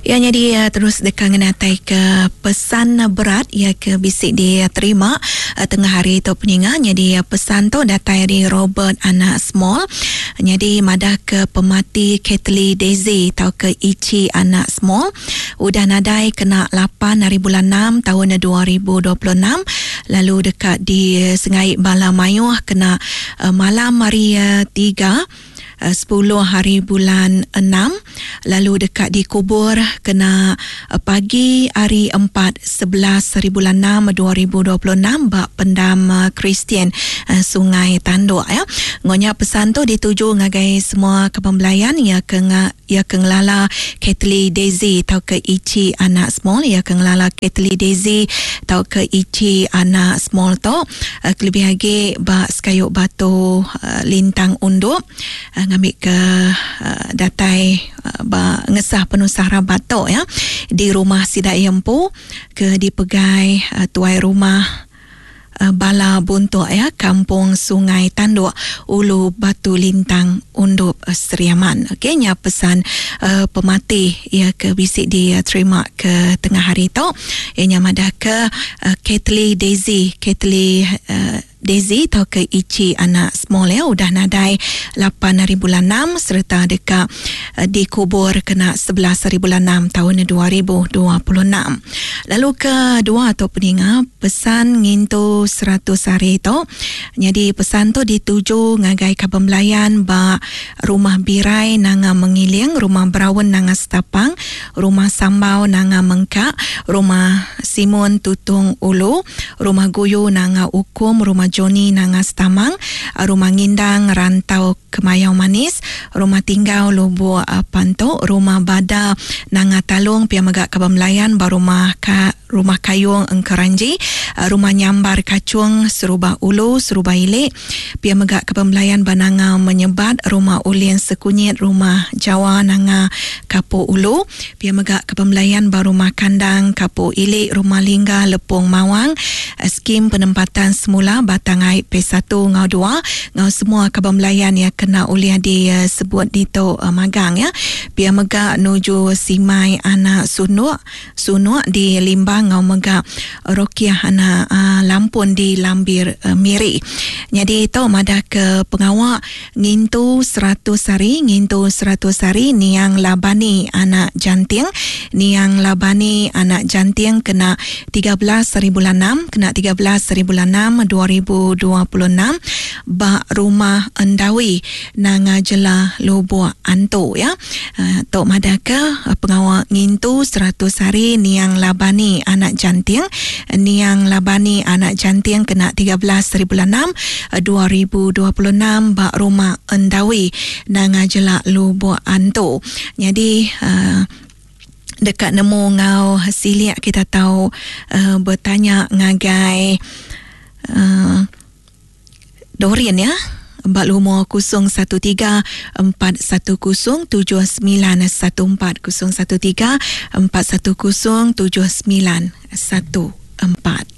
Iya nyadi terus deka ngenatai ke pesan berat iya ke bisi diterima tengah hari tu peninga nyadi pesan tu datai ari Robert anak Small nyadi madah ke pemati Kately Daisy tauka Ichi anak Small udah nadai kena lapan hari bulan enam taun 2026 lalu deka disengai bala mayuh kena malam hari tiga sepuluh hari bulan enam lalu deka dikubur kena pagi hari empat 11 hari bulan enam 2026 ba pendam Kristian Sungai Tanduk ya. Enggau nya pesan tu dituju ngagai semua kaban belayan iya ke iya ke ngelala Kately Daisy tauka Ichi anak Small iya ke ngelala Kately Daisy tauka Ichi anak Small tu kelebih agi ba sekayu batu Lintang Undup ngambika datai ba ngesah penusah rabat tu ya di rumah sida iya empu ke dipegai tuai rumah bala buntuk ya Kampung Sungai Tanduk Ulu Batu Lintang Undup Sri Aman. Okey nya pesan pemati iya ke bisi diterima ke tengah hari tu iya nya madah ke Kately Daisy Kately Daisy tauka Ichi anak Small ya udah nadai lapan hari bulan enam sereta deka dikubur kena 11 hari bulan enam taun 2026. Lalu ke dua tu peninga pesan ngintu 100 hari tu nyadi pesan tu dituju ngagai kaban belayan ba Rumah Birai Nanga Mengiling, Rumah Braun Nanga Setapang, Rumah Sambau Nanga Mengka, Rumah Simon Tutung Ulu, Rumah Guyu Nanga Ukum, Rumah Johnny Nanga Setamang, Rumah Ngindang Rantau Kemayau Manis, Rumah Tinggau Lubuk Pantu, Rumah Bada Nanga Talung pia mega kaban belayan ba Rumah Ka Rumah Kayung Engkeranji, Rumah Nyambar Kachung Serubah Ulu, Serubah Ili, pia mega kaban belayan ba Nanga Menyebat, Rumah Ulin Sekunyit, Rumah Jawa Nanga Kapu Ulu, pia mega kaban belayan ba Rumah Kandang Kapu Ili, Rumah Lingga Lepung Mawang, Skim Penempatan Semula Batang Ai Phase satu enggau dua enggau semua kaban belayan iya kena ulih disebut ditu magang ya. Pia mega nuju Simai anak Sunuk Sunuk di Limbang enggau mega Rokiah anak Lampun di Lambir Miri. Nyadi tu madah ke pengawa ngintu 100 hari ngintu 100 hari niang Labani anak Janting niang Labani anak Janting kena 13 hari bulan enam kena 13 hari bulan enam 2026 ba Rumah Endawi Nanga Jela Lubok Antu ya. Tu madah ke pengawa ngintu 100 hari niang Labani anak Janting niang Labani anak Janting kena 13 hari bulan enam 2026 ba Rumah Endawi Nanga Jela Lubok Antu. Nyadi deka nemu enggau silik kita tau betanya ngagai Doreen ya ba lumur 013 410 7914 013 410 7914.